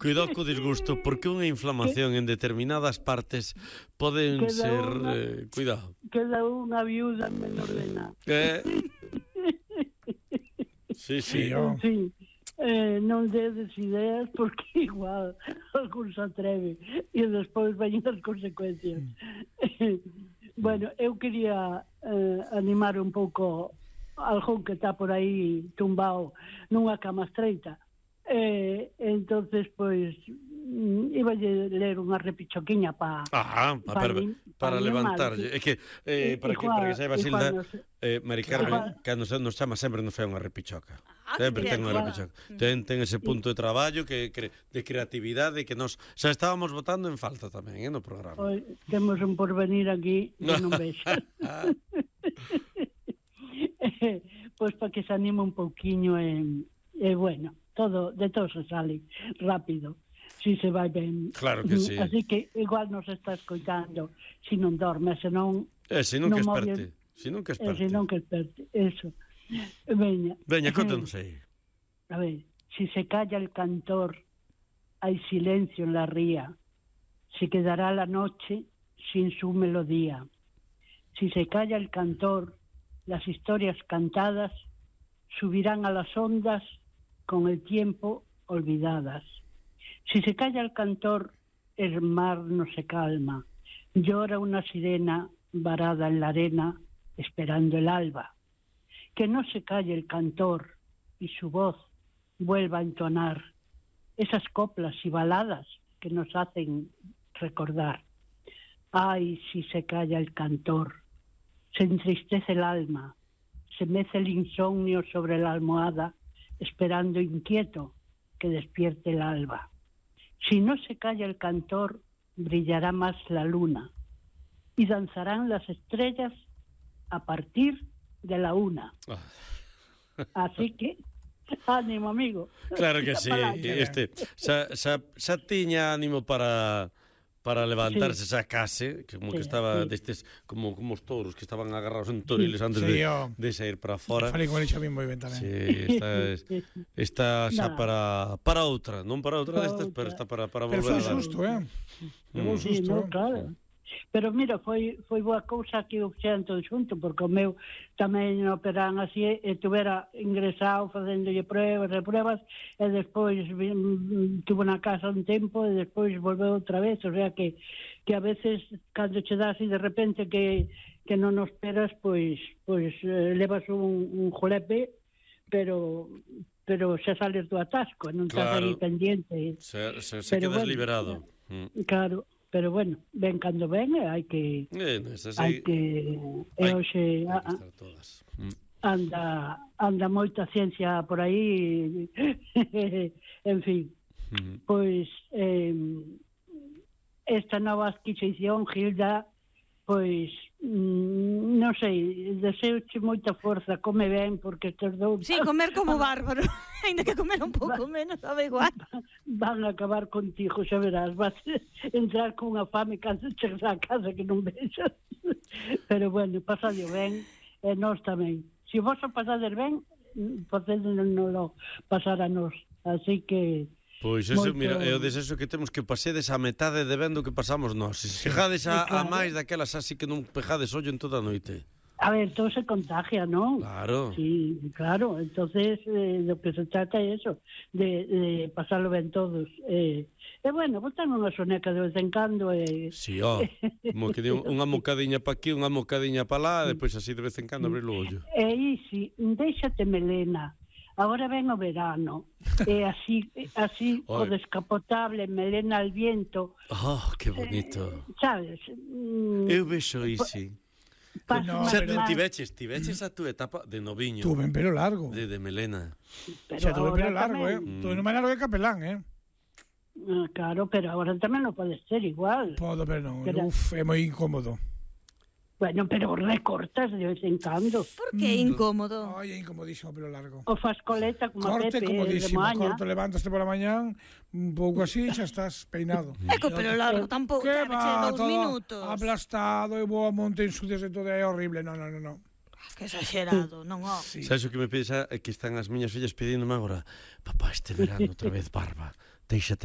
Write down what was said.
Cuidado co disgusto, porque unha inflamación en determinadas partes poden ser... cuidado. Queda unha viuda menor de nada. Sí. En fin, non dedes ideas porque igual algún se atreve e despois veñen as consecuencias. Bueno, eu quería animar un pouco algún que está por aí tumbado nunha cama estreita. Entonces, pois, iba a ler unha repichoquiña para levantarlle. É que, para que saiba, Silda, Mari Carmen, cando nos chama sempre nos fai unha repichoca. Sempre ten unha repichoca. Ten ese punto de traballo de creatividade que nos xa estábamos votando en falta tamén, no programa. Temos un porvenir aquí que non vexo. Pois para que se anime un pouquiño bueno, de todo se sale rápido si se vai ben. Claro que sí. Así que igual nos está escoitando se non dorme, se non que esperte, eso. Veña, contanos aí. A ver, si se calla el cantor, hay silencio en la ría, se quedará la noche sin su melodía. Si se calla el cantor, las historias cantadas subirán a las ondas con el tiempo olvidadas. Si se calla el cantor, el mar no se calma. Llora una sirena varada en la arena, esperando el alba. Que no se calle el cantor y su voz vuelva a entonar esas coplas y baladas que nos hacen recordar. Ay, si se calla el cantor, se entristece el alma, se mece el insomnio sobre la almohada, esperando inquieto que despierte el alba. Si no se calla el cantor, brillará más la luna y danzarán las estrellas a partir de la 1. Así que, ánimo, amigo. Claro que sí. Xa tiña ánimo para levantarse esa case, como que estaba destes como os touros que estaban agarrados en toriles antes de sair para fora. Falei con el xa ben moi ben tamén. Sí, está xa para outra, non para outra destas, pero está para volver a dar. Pero foi susto, Levou susto. Claro. Pero mira, foi boa cousa que o fixeran todo xunto, porque o meu tamén operan así e tuvera ingresado facéndolle pruebas e despois tuvo na casa un tempo e despois volveu outra vez, o sea que a veces cando che das e de repente que non nos esperas, pois levas un jolepe, pero xa sales do atasco, non estás aí pendiente. Se quedas liberado. Claro. Pero bueno, ven cando ven e hai que hoxe anda moita ciencia por aí. En fin, pois esta nova adquisición, Gilda, pois non sei, deseoche moita forza, come ben, porque estes dous... Sí, comer como bárbaro, ainda que comer un pouco menos, sabe igual. Van a acabar contigo, xa verás, vas entrar con unha fame cando chegas á casa que non vexas. Pero bueno, pasadlo ben, e nós tamén. Se vos o pasades ben, podédenoslo pasar a nós. Así que... Pois eso, mira, é o desexo que temos que pasedes a metade de vendo que pasamos nós. Se chegades a máis daquelas así que non pejades ollo en toda a noite. A ver, todo se contagia, non? Claro. Sí, claro. Entonces, lo que se trata é eso, de pasarlo ben todos. E bueno, botan unha soneca de vez en cando. Sí, como que unha mocadiña pa aquí, unha mocadiña pa lá, depois así de vez en cando abrir o ollo. E isi, déxate melena. Agora ven o verano, e así o descapotable, melena al viento. Oh, que bonito. Sabes? Eu vexo isi. Xa tiveches a túa etapa de noviño. Tuve en pelo largo. De melena. Xa tuve pelo largo, Tuve no máis largo que capelán, Claro, pero agora tamén non pode ser igual. Podo, pero non. É moi incómodo. Bueno, pero recortas de vez en cando. Por que incómodo? Ai, é incomodísimo pelo largo. O fas coleta como Corte Pepe comodísimo, de maña. corto, levantaste pola mañán, un pouco así, xa estás peinado. É co pelo largo, tampouco, que va, 2 minutos. Aplastado, e vou a monte en sucias e todo, é horrible, non. Que exagerado, non, Sí. Sabes o que me pides? É que están as miñas fillas pedíndome agora, papá, este verano outra vez barba, déixate